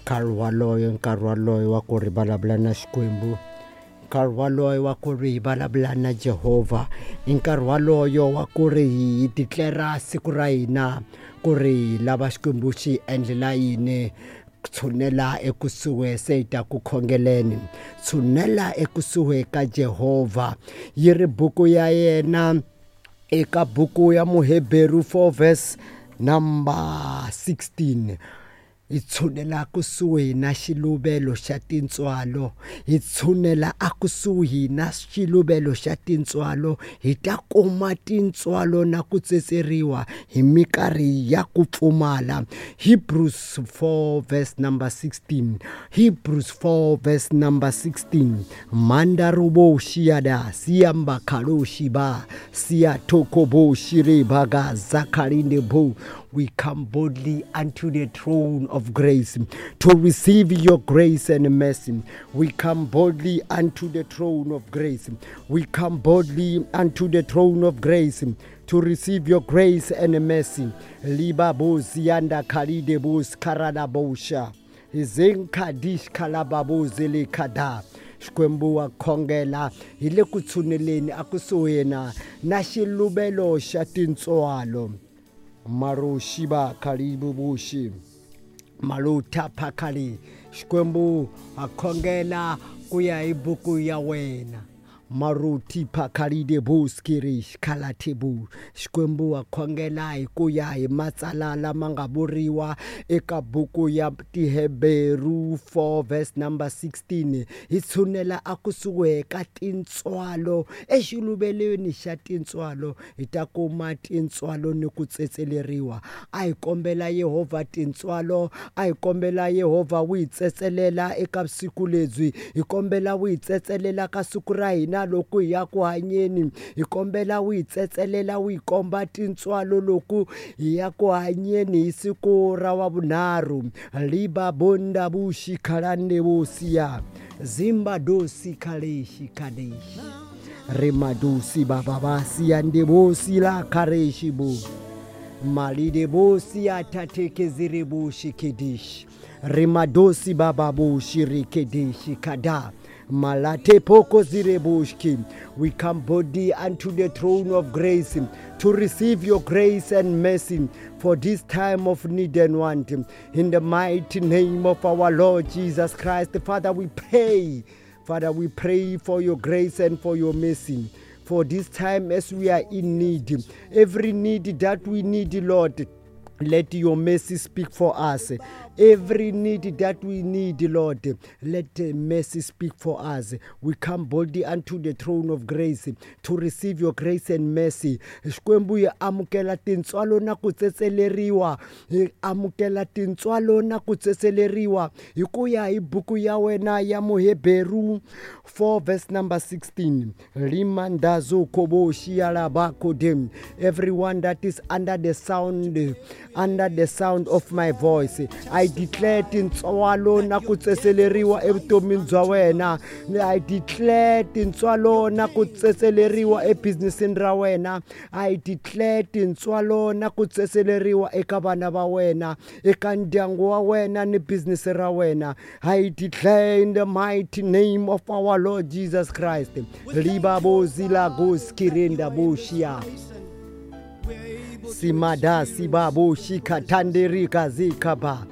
Nkarhi waloyo, nkarhi waloyo wa ku ri vulavula na Xikwembu, nkarhi waloyo wa ku ri hi vulavula na Jehovha, i nkarhi waloyo wa ku ri hi declare siku ra hina ku ri hi lava Xikwembu xi hi endlela yini. Tshunela ekusuhi se hi ta ku khongeleni, tshunela ekusuhi ka Jehovha. Yi ri buku ya yena eka buku ya Muheberu 4 verse number 16. Hi tshunela kusuhi na xiluvelo xa tintswalo, hi tshunela akusuhi na xiluvelo xa tintswalo, hi ta kuma tintswalo na ku tsetseriwa hi minkarhi ya ku pfumala. Hebrews 4 verse number 16. Hebrews 4 verse number 16. Mandarubo shiada siamba kaloshi ba siya tokobo shire baga zakarinde bo. We come boldly unto the throne of grace to receive your grace and mercy. We come boldly unto the throne of grace. We come boldly unto the throne of grace to receive your grace and mercy. Liba bo zianda kalide bo skarada bosha. Zinkadish kalababo zele kada. Xikwembu wa khongela hi le ku tshuneleni akusuhi na na xiluvelo xa tintswalo. Maroshiba kalibu bushi maluta phakali. Xikwembu a khongela ku ya hi buku ya wena. Maruti phakalide buskiri xikhalatibu. Xikwembu wa khongela hi ku ya hi matsala lama nga vuriwa eka buku ya Tiheberu 4 verse number 16. Hi tshunela akusuhi ka tintswalo, exiluvelweni xa tintswalo hi ta kuma tintswalo ni ku tsetseleriwa. A hi kombela Yehovha tintswalo, a hi kombela Yehovha wu hi tsetselela eka vusiku lebyi, hi kombela wu hi tsetselela ka siku ra hina loko hi ya ku hanyeni, hi kombela wu hi tsetselela wu hi komba tintswalo loko hi ya ku hanyeni hi siku ra wa vunharhu. Liba bonda bushi khalande bosiya zimba dosi khaleshi khadeshi rimadosi baba basiya ndebosi la khareshi bo malide bosi atatekezire boshi kedishi rimadosi baba boshi rikedeshi kada malate poko zireboshki. We come boldly unto the throne of grace to receive your grace and mercy for this time of need and want. In the mighty name of our Lord Jesus Christ, Father, we pray. Father, we pray for your grace and for your mercy for this time as we are in need. Every need that we need, Lord, let your mercy speak for us. Every need that we need, Lord, let the mercy speak for us. We come boldly unto the throne of grace to receive your grace and mercy. Xikwembu hi amukela tintswalo na ku tsetseleriwa. Hi amukela tintswalo na ku tsetseleriwa hi ku ya hi buku ya wena ya Muheberu 4 verse number 16. Limandazo kobo shialaba kodem. Everyone that is under the sound of my voice, I declare tintswalo na ku tsetseleriwa evutomini bya wena. I declare tintswalo na ku tsetseleriwa ebusinessini ra wena. I declare tintswalo na ku tsetseleriwa eka vana va wena, eka ndyangu wa wena ni business ra wena. I declare in the mighty name of our Lord Jesus Christ. Liba bozila goskirinda boshia. Simada sibabo shika tanderika zikaba.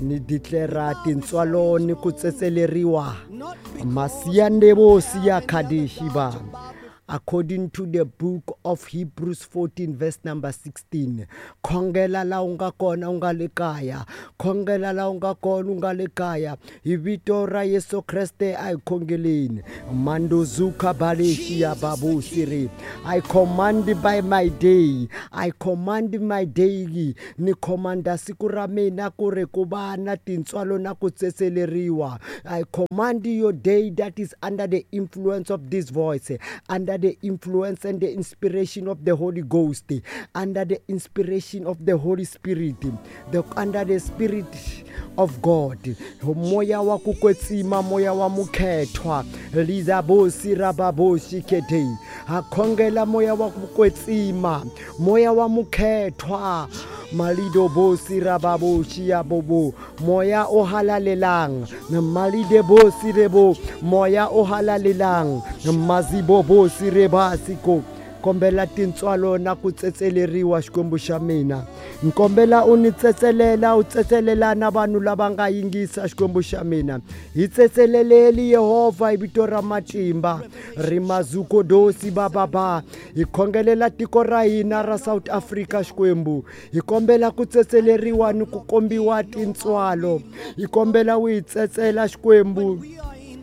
Ni declare tintswalo ni ku tsetseleriwa. Masiyandebo siya kadeshiba. According to the book of Hebrews 14 verse number 16. Khongela la u nga kona u nga le kaya. Khongela la u nga kona u nga le kaya. Hi vito ra Yesu Kreste a hi khongeleni. Mandozuka baleshia babu siri. I command by my day. I command my day. Ni commanda siku ra mina ku ri ku va na tintswalo na ku tsetseleriwa. I command your day that is under the influence of this voice, under the influence and the inspiration of the Holy Ghost, under the inspiration of the Holy Spirit, under the Spirit of God, moya wa ku kwetsima, moya wa mukhethwa lizabosi rababoshi kete. Ha khongela moya wa ku kwetsima, moya wa mukhethwa malido bosi rababoshi ya bobo, moya o halalelang malide bosi rebo, moya o halalelang mazibo bosi rebasiko. Kombela tintswalo na ku tsetseleriwa Xikwembu xa mina. Nkombela u ni tsetselela, u tsetselela na vanhu lava nga yingisa Xikwembu xa mina. Hi tsetseleleli Yehovha hi vito ra matimba. Rimazukodosi bababa. Hi khongelela tiko ra hina ra South Africa Xikwembu. Hi kombela ku tsetseleriwa ni ku kombiwa tintswalo. Hi kombela u hi tsetsela Xikwembu.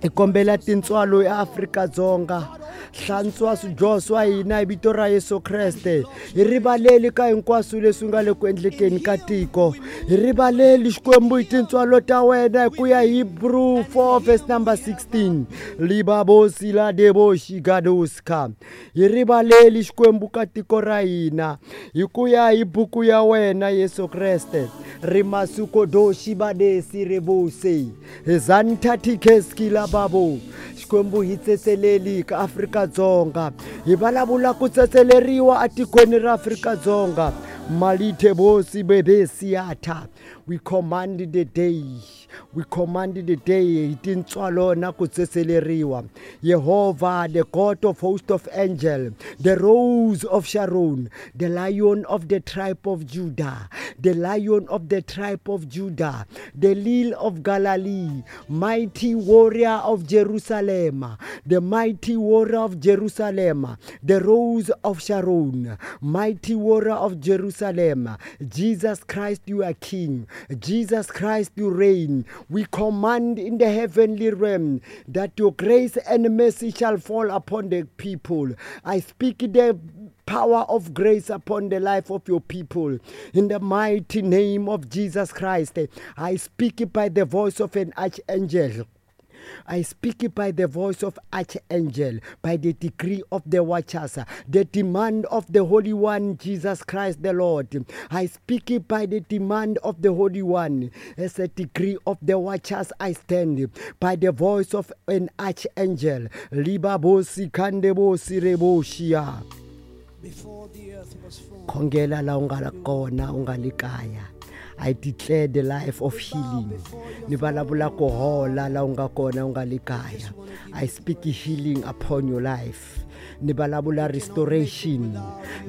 Hi kombela tintswalo eAfrika-Dzonga. Hlantswa swidyoho swa hina hi vito ra Yesu Kreste. Hi rivaleli ka hinkwaswo leswi nga le ku endlekeni ka tiko. Hi rivaleli Xikwembu hi tintswalo ta wena hi ku ya Hebrew 4 verse number 16. Libabosi la deboshi gadoska. Hi rivaleli Xikwembu ka tiko ra hina hi ku ya hi buku ya wena Yesu Kreste. Rimasukodoshi badesi rebose. Zantatikeski la babo. Xikwembu hi tsetseleli ka Afrika-Dzonga. Hi vulavula ku tsetseleriwa etikweni ra Afrika-Dzonga. Malithe bosi bebesiata. We command the day. We command the day. Hi tintswalo na ku tsetseleriwa. Yehovha, the God of host of angel, the rose of Sharon, the lion of the tribe of Judah, the lion of the tribe of Judah, the lily of Galilee, mighty warrior of Jerusalem, the mighty warrior of Jerusalem, the rose of Sharon, mighty warrior of Jerusalem. Jesus Christ, you are King. Jesus Christ, you reign. We command in the heavenly realm that your grace and mercy shall fall upon the people. I speak the power of grace upon the life of your people. In the mighty name of Jesus Christ, I speak by the voice of an archangel. I speak by the voice of archangel, by the decree of the watchers, the demand of the Holy One, Jesus Christ the Lord. I speak by the demand of the Holy One. As a decree of the watchers I stand, by the voice of an archangel. Libabosi kandebosi reboshia. Before the earth was formed, Khongela la u nga kona u nga le kaya. I declare the life of healing. Ni vulavula ku hola la u nga kona u nga le kaya. I speak healing upon your life. Ni vulavula restoration.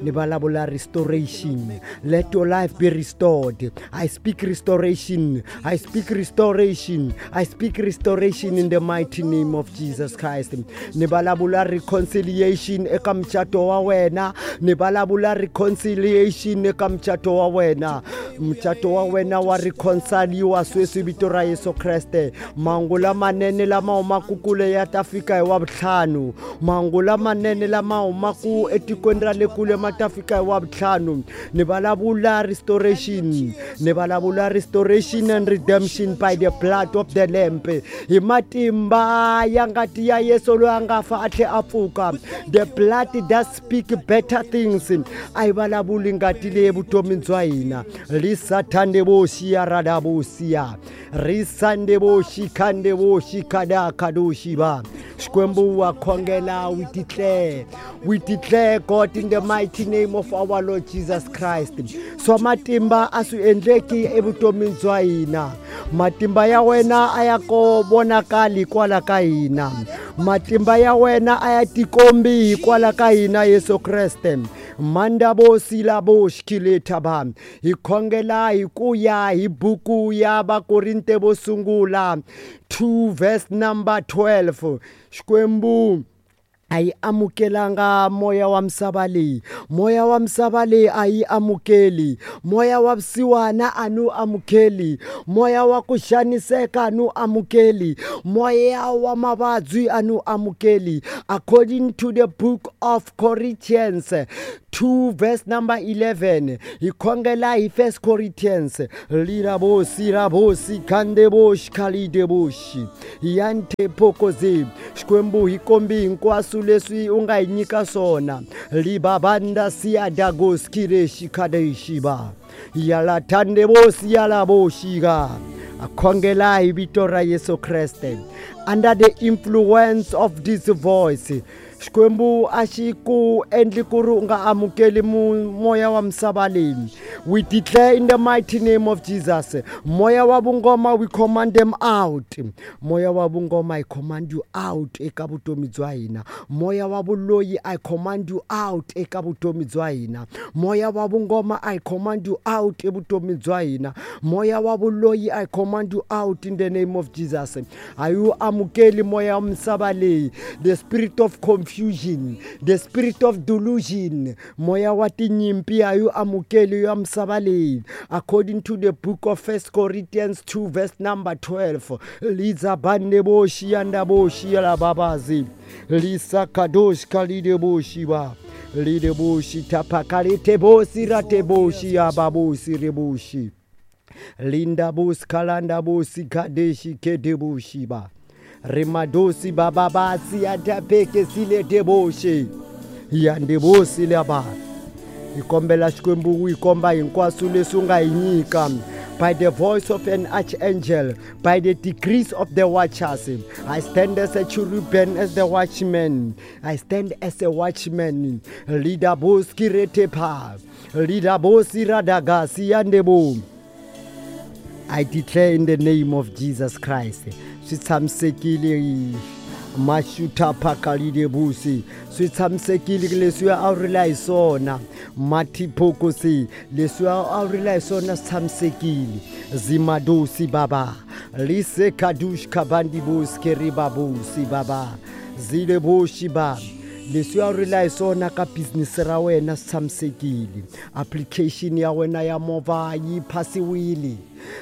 Ni vulavula restoration. Let your life be restored. I speak restoration. I speak restoration. I speak restoration in the mighty name of Jesus Christ. Ni vulavula reconciliation eka mucato wa wena. Ni vulavula reconciliation eka mucato wa wena. Mucato wa wena wa reconciliwa sweswi vito ra Yesu Kreste. Mahungu lamanene lama humaka kule ya ta fika hi Wavuntlhanu. Mahungu lamanene lama humaka etikweni ra le kule ma ta fika hi Wavuntlhanu. Ni vulavula restoration. Ni vulavula restoration and redemption by the blood of the Lamb. Hi matimba ya ngati ya Yesu loyi a nga fa a tlhela a pfuka. The blood that speak better things. A yi vulavuli ngati leyi evutomini bya hina. Lisathandeboshi ya radabosia. Risandeboshi khandeboshi kadakadoshi ba. Xikwembu wa khongela, we declare. We declare, God, in the mighty name of our Lord Jesus Christ. Swa matimba a swi endleki evutomini bya hina. Matimba ya wena a ya ko vonakali kwala ka hina. Matimba ya wena a ya tikombi kwala ka hina Yesu Kreste. Mandabosi labo xikilethaba. Hi khongela hi ku ya hi buku ya Vakorinte vo sungula 2 verse number 12. Xikwembu a yi amukelanga moya wa misava leyi. Moya wa misava leyi a yi amukeli. Moya wa vusiwana a ni wu amukeli. Moya wa ku xaniseka a ni wu amukeli. Moya wa mavabyi a ni wu amukeli. According to the book of Corinthians 2 verse number 11, hi khongela hi 1 Corinthians. Lirabosi rabosi khandeboshi khalideboshi yante phokozi. Xikwembu hi kombi hinkwaswo leswi u nga hi nyika swona. Libabanda siadagoskireshi kadeshiba yalathandebosi yalaboshika. A khongela hi vito ra Yesu Kreste. Under the influence of this voice, Xikwembu a xi ku endli ku ri u nga amukeli moya wa misava leyi. We declare in the mighty name of Jesus, moya wa vungoma, we command them out. Moya wa vungoma, I command you out eka vutomi bya hina. Moya wa vuloyi, I command you out eka vutomi bya hina. Moya wa vungoma, I command you out evutomi bya hina. Moya wa vuloyi, I command you out in the name of Jesus. A yi amukeli moya wa misava leyi. The spirit of confusion, the spirit of delusion, moya wa tinyimpi a yi amukeli ya misava leyi. According to the book of 1 Corinthians 2 verse number 12, liza bande boshi anda boshi la babazi lisa kadosh kalide boshi ba lide boshi tapakalite bosi rate boshi ya babosi reboshi linda bos kalanda bosi kadeshi kedeboshi ba rimadosi bababasi atapeke sile deboshi yandebosi laba. Hi kombela Xikwembu hi komba hinkwaswo leswi u nga hi nyika. By the voice of an archangel, by the decrees of the watchers, I stand as a cherubim, as the watchman. I stand as a watchman. Leader boski retepa, leader bosi radagasi yandebo. I declare in the name of Jesus Christ. Swi tshamisekile mashuta phakalile busi. Swi tshamisekile leswi a wu rila hi swona. Matiphokosi leswi a wu rila hi swona swi tshamisekile. Zimadosi baba. Lise kadush kabandi busi keriba busi baba. Zile boshi ba. Leswi a wu rila hi swona ka business ra wena swi tshamisekile. Application ya wena ya movha yi phasiwile.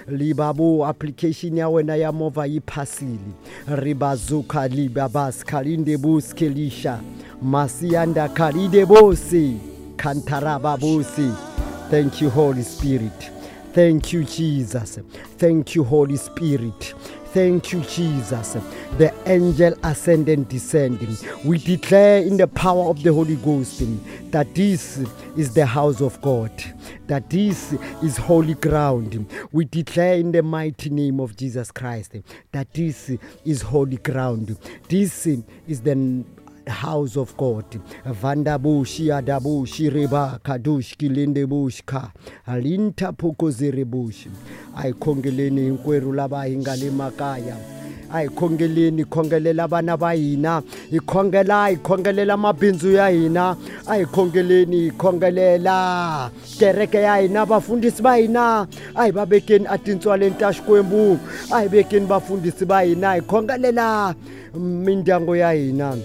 Libabo application ya wena ya movha yi phasile. Ribazuka libabas kalinde buskelisha masianda kalide bosi kantaraba bosi. Thank you, Holy Spirit. Thank you, Jesus. Thank you, Holy Spirit. Thank you, Jesus. The angel ascend and descend. We declare in the power of the Holy Ghost that this is the house of God, that this is holy ground. We declare in the mighty name of Jesus Christ that this is holy ground. This is the house of God. Vandabushi adabushi reba kadush kilinde ka alinta phokozerebushi. A hi khongeleni hinkwerhu lava hi nga le makaya. A hi khongeleni, khongelela vana va hina, hi khongela, hi khongelela mabindzu ya hina. A hi khongeleni, hi khongelela kereke ya hina, vafundhisi va hina. A hi va vekeni etintswaleni ta Xikwembu. A hi vekeni vafundhisi va hina, hi khongelela mindyangu ya hina.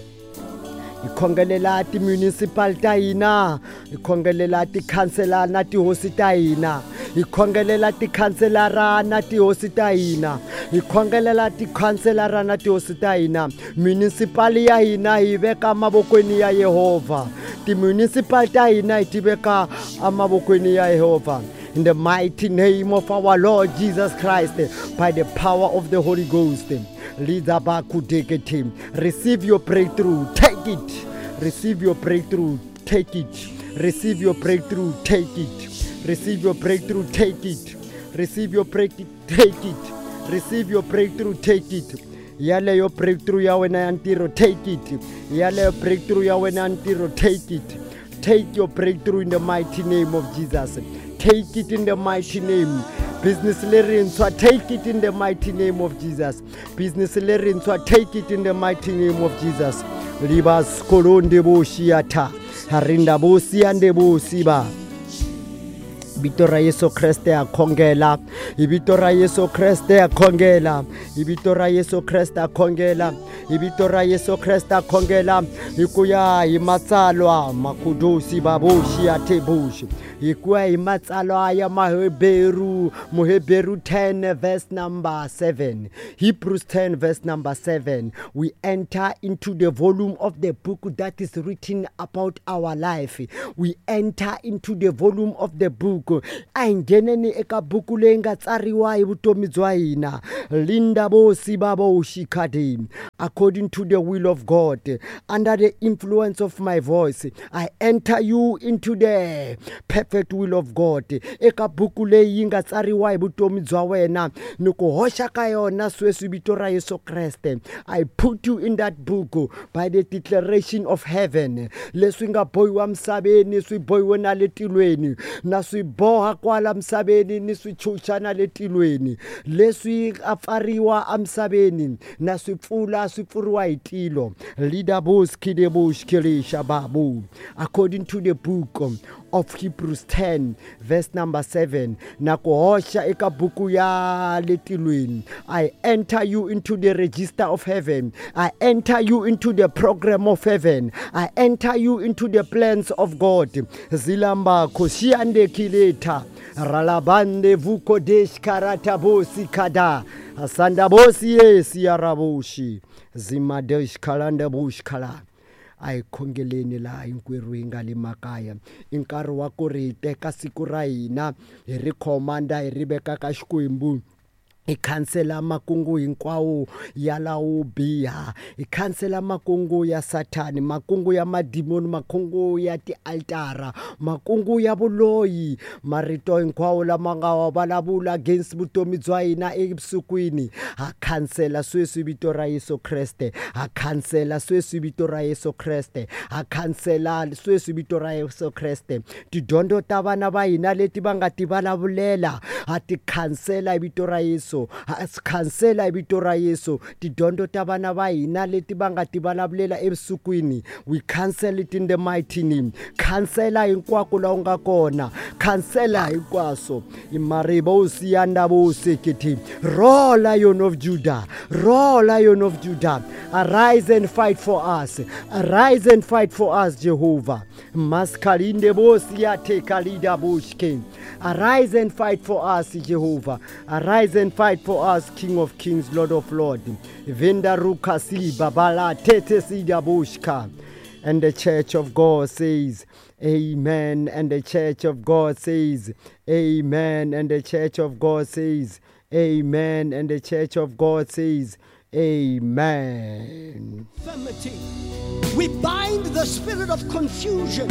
Hi khongelela ti-municipal ta hina, hi khongelela tikhanselara na tihosi ta hina, hi khongelela tikhanselara na tihosi ta hina, hi khongelela tikhanselara na tihosi ta hina. Municipal ya hina hi veka mavokweni ya Yehovha. Ti-municipal ta hina hi ti veka emavokweni ya Yehovha. In the mighty name of our Lord Jesus Christ, by the power of the Holy Ghost. Receive your breakthrough, take it. Receive your breakthrough, take it. Receive your breakthrough, take it. Receive your breakthrough, take it. Receive your breakthrough, take it. Receive your breakthrough, take it. Yaleyo breakthrough ya wena ya ntirho, take it. Yaleyo breakthrough ya wena ya ntirho, take it. Take your breakthrough in the mighty name of Jesus. Take it in the mighty name. Business lerintshwa, take it in the mighty name of Jesus. Business lerintshwa, take it in the mighty name of Jesus. Libas kolonde boshiata, harinda bosiande bosiba. Vito ra Yesu Kreste a khongela. Hi vito ra Yesu Kreste a khongela. Hi vito ra Yesu Kreste a khongela. Hi vito ra Yesu Kreste a khongela. Hi ku ya hi matsalwa makudusi babushi atebushi. Hi ku ya hi matsalwa ya Maheberu, Muheberu 10 verse number 7. Hebrews 10 verse number 7. We enter into the volume of the book that is written about our life. We enter into the volume of the book. A hi ngheneni eka buku leyi nga tsariwa hi vutomi bya hina. Linda bosi baboshi khadi. According to the will of God, under the influence of my voice, I enter you into the perfect perfect will of God. Eka buku leyi yi nga tsariwa hi vutomi bya wena ni ku hoxa ka yona sweswi vito ra Yesu Kreste. I put you in that book by the declaration of heaven. Leswi nga bohiwa misaveni swi bohiwe na le tilweni, na swi boha kwala misaveni ni swi chucha na le tilweni. Leswi a pfariwa emisaveni na swi pfula swi pfuriwa hi tilo. Lidabuskidebushkilishababu. According to the book of Hebrews 10 verse number 7, na ku hoxa eka buku ya le tilweni. I enter you into the register of heaven. I enter you into the program of heaven. I enter you into the plans of God. Zilamba koshiande kileta ralabande vukodesh karatabosi kada asandabosi yesi yaraboshi zimadesh kalanda bush kala. A hi khongeleni laha hinkwerhu hi nga le makaya. I nkarhi wa ku ri hi teka siku ra hina hi ri khomanda hi ri veka ka Xikwembu. Hi khansela makungu hinkwawo ya lawo biha, hi khansela makungu ya Sathani, makungu ya madimoni, makungu ya tialtara, makungu ya vuloyi, marito hinkwawo lama nga wa vulavula against vutomi bya hina evusikwini. Ha khansela sweswi vito ra Yesu Kreste, ha khansela sweswi vito ra Yesu Kreste, ha khansela sweswi vito ra Yesu Kreste. Tidyondzo ta vana va hina leti va nga ti vulavulela ha ti khansela hi vito ra Yesu. Khansela hi vito ra Yesu. Tidyondzo ta vana va hina leti va nga ti vulavulela evusikwini, we cancel it in the mighty name. Khansela hinkwako laha u nga kona, khansela hinkwaswo. Maribosi ya ndabosekete. Roar, Lion of Judah, roar, Lion of Judah, arise and fight for us, arise and fight for us, Jehovah. Maskalinde bosi ya tekalida bushke. Arise and fight for us, Jehovah. Arise and fight for us, King of Kings, Lord of Lords. Venda rukasi babala tete sida bushka. And the church of God says, amen. And the church of God says, amen. And the church of God says, amen. And the church of God says, amen. We bind the spirit of confusion.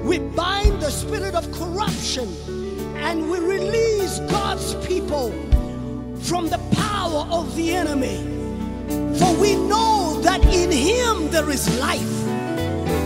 We bind the spirit of corruption. And we release God's people from the power of the enemy. For we know that in him there is life.